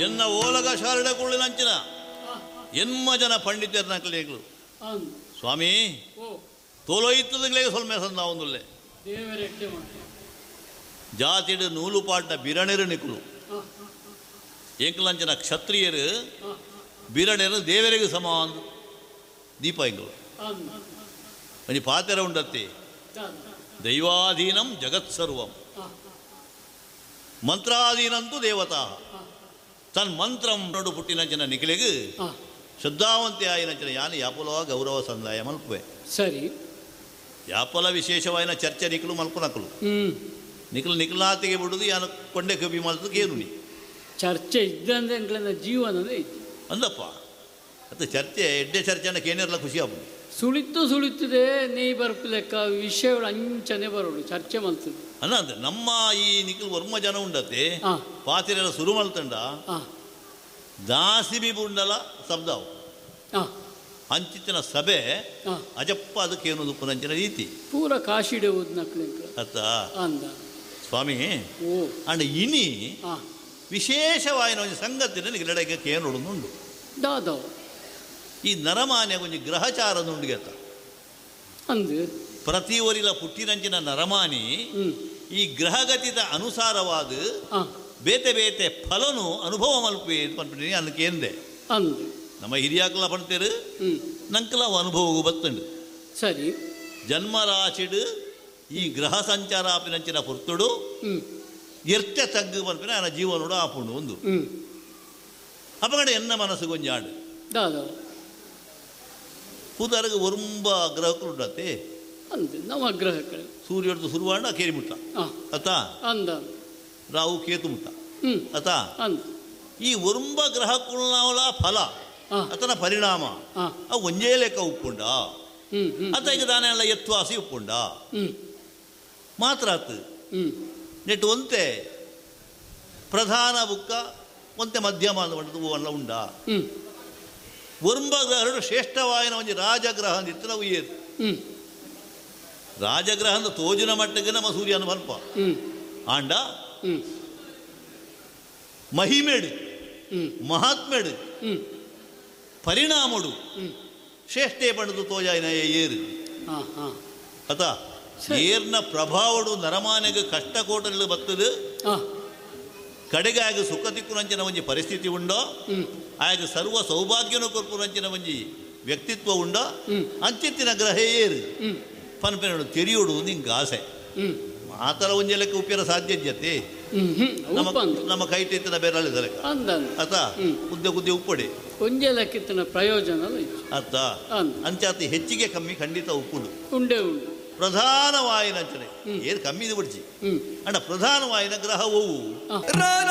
ಎನ್ನ ಓಲಗ ಶಾರಡ ಕುಳ್ಳಿನಂಚಿನ ಎನ್ಮ ಜನ ಪಂಡಿತರ್ನಕ್ಲೇಗ್ಲು ಸ್ವಾಮಿ ತೋಲೋಯಿತ್ತದಂಗ್ಲೇಗೆ ಸೊಲ್ಮೆ ಸಂದಾವೊಂದುಲ್ಲೆ ಜಾತಿಡು ನೂಲುಪಾಟ್ನ ಬಿರಣೆರು ನಿಕುಲು ಎಂಕಲಂಚಿನ ಕ್ಷತ್ರಿಯರು ಬಿರಣೆರು ದೇವರಿಗೆ ಸಮ ದೀಪ ಎಂಕಲು ಒಂಜಿ ಪಾತೆರ ಉಂಡತ್ತಿ ದೈವಾಧೀನಂ ಜಗತ್ಸರ್ವಂ ಮಂತ್ರಾಧೀನಂತೂ ದೇವತಾ ತನ್ಮಂತ್ರಂ ನೋಡು ಪುಟ್ಟಿನಂಚಿನ ನಿಖಿಲಿಗೆ ಶ್ರದ್ಧಾವಂತೆ ಆಯಿನಂಚಿನ ಯಾನು ಯಾಪಲ ಗೌರವ ಸಂದಾಯ ಮಲ್ಪುವೆ. ಸರಿ. ಯಾಪಲ ವಿಶೇಷವಾಯಿನ ಚರ್ಚೆ ನಿಖಲು ಮಲ್ಪುನಕಲು ನಿಖಲು ನಿಖಲಾತಿಗೆ ಬಿಡುದು ಯಾನು ಕೊಂಡೆ ಕಬಿ ಮಲ್ತು ಕೇನು ನೀ ಚರ್ಚೆ ಇದ್ದಂದ್ರೆ ಎಂಕ್ಲೆನ ಜೀವನದೇ ಇತ್ತು ಅಂದಪ್ಪ. ಅದು ಚರ್ಚೆ ಎಡ್ಡೆ ಚರ್ಚೆನ ಕೇನಿರಲ್ಲ ಖುಷಿ ಆಪುಂಡು. ಸುಳಿತು ಸುಳಿತದೆ ನೀ ಬರ್ಪು ಲೆಕ್ಕ ವಿಷಯಗಳು ಅಂಚನೆ ಬರೋಡು ಚರ್ಚೆ ಮಲ್ತದೆ ಅಲ್ಲ. ಅಂದ್ರೆ ನಮ್ಮ ಈ ನಿಖಲ್ ವರ್ಮ ಜನ ಉಂಡತೆ ಪಾತಿರೆಲ್ಲ ಸುರು ಮಲ್ತಂಡ ದಾಸಿಬಿ ಬುಂಡಲ ಶಬ್ದ ಅಂಚಿತ್ತಿನ ಸಭೆ ಅಜಪ್ಪ ಅದಕ್ಕೆ ಏನು ಪುನಂಚಿನ ರೀತಿ ಪೂರ ಕಾಶಿಡೆ ಅತ್ತ ಸ್ವಾಮಿ. ಅಂಡ್ ಇನಿ ವಿಶೇಷವಾಯಿನ ಒಂದು ಸಂಗತಿ ನನಗೆ ಲಡಕ್ಕೆ ಕೇನುಂಡು. ದಾದವ್ ಈ ನರಮಾನ್ಯ ಒಂಜಿ ಗ್ರಹಚಾರದುಂಡು ಗೆತ್ತ ಅಂದು ಪ್ರತಿ ಒರಿಲ ಪುಟ್ಟಿನಂಚಿನ ನರಮಾನಿ ಈ ಗ್ರಹಗತಿದ ಅನುಸಾರವಾದ ಬೇತೆ ಬೇತೆ ಫಲನು ಅನುಭವ ಮಲ್ಪೆ ಪನ್ಪಿನಿ ಅನ್ನಕ್ಕೆ ಅಂದು ನಮ್ಮ ಹಿರಿಯಾಕಲ ಪಣ್ತೇರು ನಂಕಲ ಅನುಭವಗೂ ಬತ್ತುಂಡು. ಸರಿ. ಜನ್ಮರಾಶಿಡು ಈ ಗ್ರಹ ಸಂಚಾರ ಆಪಿನಂಚಿನ ಪೊರ್ತುಡು ಎರ್ತೆ ತಗ್ಗು ಪನ್ಪಿನ ನನ್ನ ಜೀವನೋಡು ಆಪುಂಡು ಒಂದು ಅಪಗಡೆ ಎನ್ನ ಮನಸ್ಸು ಗೊಂಜಾಂಡು ಕೂದಾರಗ ಒರುಂಬ ಗ್ರಹಕ್ಕಳು ಉಂಡತ್ತೆ ನವಗ್ರಹಗಳು ಸೂರ್ಯಡ್ದು ಸುರುವಾಂಡ ಕೇರಿ ಮುಟ್ಟ ಅತಾ ಅಂದ ರಾಹು ಕೇತು ಮುಟ್ಟ ಅತಾ ಈ ಒರುಂಬ ಗ್ರಹಕ್ಕುಳ್ನಾವಲ ಫಲ ಅತನ ಪರಿಣಾಮ ಅವು ಒಂಜೇ ಲೆಕ್ಕ ಉಪ್ಪುಂಡ ಅತ ಈಗ ದಾನೆ ಎಲ್ಲ ಎತ್ವಾಸಿ ಉಪ್ಪುಂಡ ಮಾತ್ರ ಆತು ನೆಟ್ಟು ಒಂತೆ ಪ್ರಧಾನ ಬುಕ್ಕ ಒಂತೆ ಮಧ್ಯಮ ಅಂದ ಉಂಡ ಒರುಂಬ ಗ್ರಹರು ಶ್ರೇಷ್ಠವಾಯಿನ ಒಂಜಿ ರಾಜಗ್ರಹ ಅಂದಿತ್ತು ನಾವು ಏರು ರಾಜಗ್ರಹ ಅಂದ ತೋಜಿನ ಮಟ್ಟಕ್ಕೆ ನಮ್ಮ ಸೂರ್ಯನ ಬರ್ಪ ಆಂಡ ಮಹಿಮೇಡು ಮಹಾತ್ಮೇಡು ಪರಿಣಾಮಡು ಶ್ರೇಷ್ಠೆ ಪಂಡದು ತೋಜಾಯಿನ ಏರು ಅತ ಏರ್ನ ಪ್ರಭಾವಡು ನರಮಾನೆಗೆ ಕಷ್ಟ ಕೋಟಲು ಬತ್ತದು ಕಡೆಗೆ ಆಗ ಸುಖ ತಿಕ್ಕುನಂಚಿನ ಒಂಜಿ ಪರಿಸ್ಥಿತಿ ಉಂಡೋ ಆಗ ಸರ್ವ ಸೌಭಾಗ್ಯನ ಕೊರ್ಪುನಂಚಿನ ಒಂಜಿ ವ್ಯಕ್ತಿತ್ವ ಉಂಡೋ ಅಂಚಿತ್ತಿನ ಗ್ರಹ ಏರು ಪನ್ಪೆನೋಡು ತೆರಿಯೋಡು ನಿಂಗೆ ಆಸೆ ಆ ಥರ ಒಂಜಿ ಲೆಕ್ಕ ಉಪ್ಪಿನ ಸಾಧ್ಯ ಜತೆ ನಮ್ಮ ಕೈ ತಿತ್ತಿನ ಬೇರೆ ಲೆಕ್ಕ ಅತ ಉದ್ದೆ ಉದ್ದೆ ಉಪ್ಪಡೆ ಒಂಜೆ ಲೆಕ್ಕಿತ್ತಿನ ಪ್ರಯೋಜನ ಅರ್ಥ ಅಂಚಾತಿ ಹೆಚ್ಚಿಗೆ ಕಮ್ಮಿ ಖಂಡಿತ ಉಪ್ಪುಂಡು ಉಂಡೆ ಉಂಡು ಪ್ರಧಾನವಾಯಿನ ಅಂಚನೆ ಏನು ಕಮ್ಮಿ ಇದು ಬಿಡ್ಚಿ ಅಂಡ ಪ್ರಧಾನವಾಯಿನ ಗ್ರಹವು ರಾಜ